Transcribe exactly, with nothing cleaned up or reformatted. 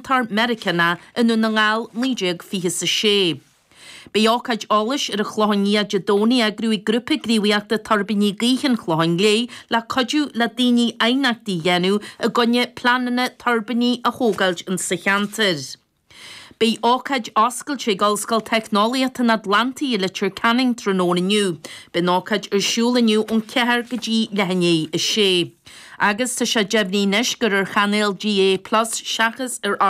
déantóir Meiriceánach i nDún na nGall naoi déag fiche is a sé. Beidh ócáid eolais ar an Chlochán Liath Dé Domhnaigh á eagrú ag Grúpa Gníomhaíochta Tuirbíní Gaoithe an Chlocháin Léith le cuidiú le daoine aighneachtaí a dhéanamh i gcoinne pleananna tuirbíní a thógáilt insa cheantar. Beidh ócáid oscailte ag Ollscoil Teicneolaíochta an Atlantaigh i Leitir Ceanainn tráthnóna inniu. Beidh an ócáid ar siúl inniu ón ceathair go dtí leath i ndiaidh a sé. Agus tá sé deimhnithe anois gur ar chainéal D A Plus seachas ar